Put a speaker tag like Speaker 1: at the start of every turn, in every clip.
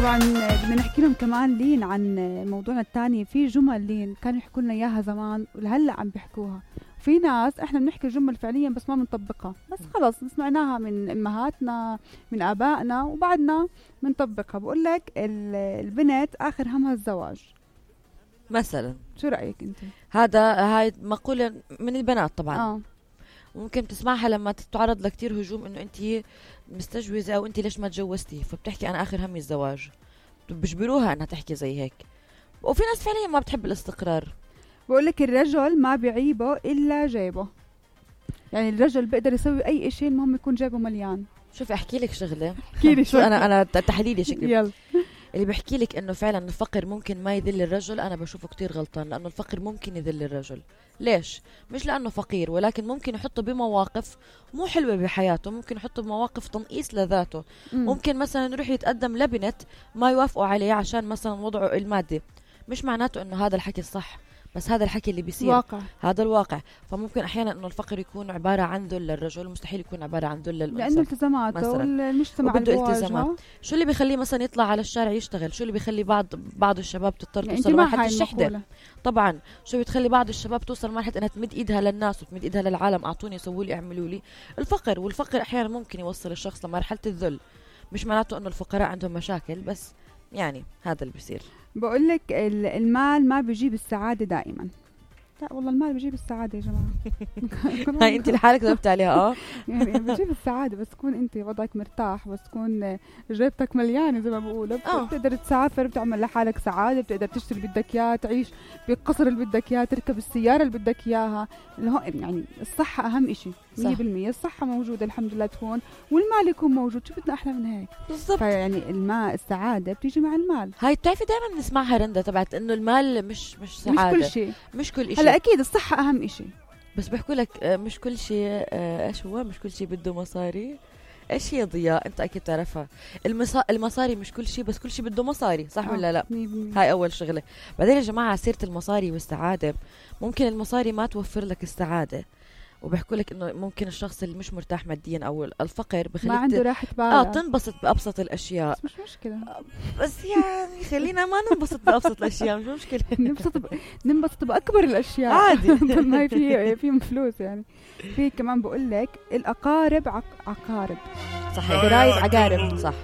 Speaker 1: طبعا بدنا نحكي لهم كمان لين عن موضوعنا الثاني. في جمل لين كانوا يحكوا لنا اياها زمان ولهلا عم بيحكوها. في ناس احنا بنحكي الجمل فعليا بس ما بنطبقها، بس خلص سمعناها من امهاتنا من ابائنا وبعدنا بنطبقها. بقول لك البنت اخر همها الزواج
Speaker 2: مثلا.
Speaker 1: شو رايك انت؟
Speaker 2: هاي مقولة من البنات طبعا. ممكن تسمعها لما تتعرض لكتير هجوم انه انت مستجوزة او انت ليش ما تجوزتي، فبتحكي انا اخر همي الزواج. بجبروها انها تحكي زي هيك. وفي ناس فعليا ما بتحب الاستقرار.
Speaker 1: بقول لك الرجل ما بيعيبه الا جيبه، يعني الرجل بيقدر يسوي اي شيء المهم يكون جيبه مليان.
Speaker 2: شوفي احكي لك شغله.
Speaker 1: احكي لي شو.
Speaker 2: انا تحليلي شكلي.
Speaker 1: يلا.
Speaker 2: اللي بيحكي لك انه فعلا الفقر ممكن ما يذل الرجل، انا بشوفه كتير غلطان، لانه الفقر ممكن يذل الرجل. ليش؟ مش لانه فقير، ولكن ممكن يحطه بمواقف مو حلوه بحياته، ممكن يحطه بمواقف تنقيص لذاته. ممكن مثلا يروح يتقدم لبنت ما يوافقوا عليه عشان مثلا وضعه المادي. مش معناته انه هذا الحكي الصح، بس هذا الحكي اللي بيصير
Speaker 1: واقع.
Speaker 2: هذا الواقع. فممكن احيانا انه الفقر يكون عباره عن ذل للرجل، مستحيل يكون عباره عن ذل للانثى،
Speaker 1: لانه التزاماته والمجتمع
Speaker 2: بده التزامات. شو اللي بيخليه مثلا يطلع على الشارع يشتغل؟ شو اللي بيخلي بعض الشباب تضطر
Speaker 1: يعني
Speaker 2: توصل لمرحله الشحذه؟ طبعا شو بتخلي بعض الشباب توصل لمرحله انها تمد ايدها للناس وتمد ايدها للعالم، اعطوني سووا لي اعملوا لي. الفقر، والفقر احيانا ممكن يوصل الشخص لمرحله الذل. مش معناته انه الفقراء عندهم مشاكل، بس يعني هذا اللي بيصير.
Speaker 1: بقول لك المال ما بيجيب السعاده دائما. لا والله المال بيجيب السعاده يا جماعه.
Speaker 2: هاي انت لحالك ضربت عليها.
Speaker 1: يعني بيجيب السعاده بس تكون انت وضعك مرتاح، بس تكون جيبتك مليانه زي ما بقولوا. بتقدر تسافر، بتعمل لحالك سعاده، بتقدر تشتري اللي بدك اياه، تعيش بالقصر اللي بدك اياه، تركب السياره اللي بدك اياها. يعني الصحه اهم شيء 100%. الصحه موجوده الحمد لله تكون، والمال يكون موجود. شو بدنا احلى من هيك؟
Speaker 2: بالضبط.
Speaker 1: فيعني المال السعاده بتيجي مع المال.
Speaker 2: هاي بتعرفي دائما بنسمعها رندا تبعت انه المال مش سعاده،
Speaker 1: مش كل شيء.
Speaker 2: مش كل شيء.
Speaker 1: هلا اكيد الصحه اهم شيء،
Speaker 2: بس بيحكوا لك مش كل شيء. ايش هو مش كل شيء بده مصاري؟ ايش هي ضياء؟ انت اكيد تعرفها. المصاري مش كل شيء، بس كل شيء بده مصاري، صح ولا لا؟ هاي اول شغله. بعدين يا جماعه سيره المصاري والسعاده، ممكن المصاري ما توفر لك السعاده. وبيحكوا لك انه ممكن الشخص اللي مش مرتاح ماديا او الفقر بخليك
Speaker 1: ما عنده راحه بال
Speaker 2: تنبسط بابسط الاشياء.
Speaker 1: بس مش مشكله.
Speaker 2: بس يعني خلينا ما ننبسط بابسط الاشياء، مش مشكله.
Speaker 1: ننبسط باكبر الاشياء عادي. ما هي في فلوس يعني. في كمان بقول لك الاقارب عقارب.
Speaker 2: صحيح.
Speaker 1: قرايب عقارب.
Speaker 2: صح.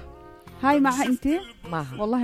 Speaker 1: هاي معها انت؟
Speaker 2: معها
Speaker 1: والله